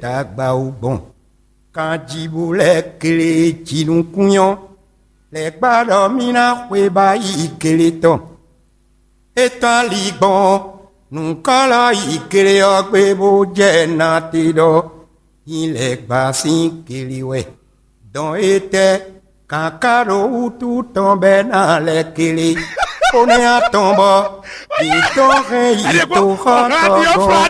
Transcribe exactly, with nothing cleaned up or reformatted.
Dagba wú gbɔn. Kanjibu lɛ́ɛ kle jinukúnyɔ́ lɛ́ gbá ɖɔ mì ná xwebá yi kele tɔn. É tɔ́n ali gbɔn nǔkɔ́lɔ yi kele ɔ́ gbe bó jɛ na te ɖɔ nyi lɛ́ gbá sín kele wɛ. Dɔn étɛ́ kǎká ɖo wútu tɔn bɛ́ ná lɛ́ kele, bó nɛ́ atɔn bɔ yě tɔn hɛn yi toxɔtɔ́ gɔ́n.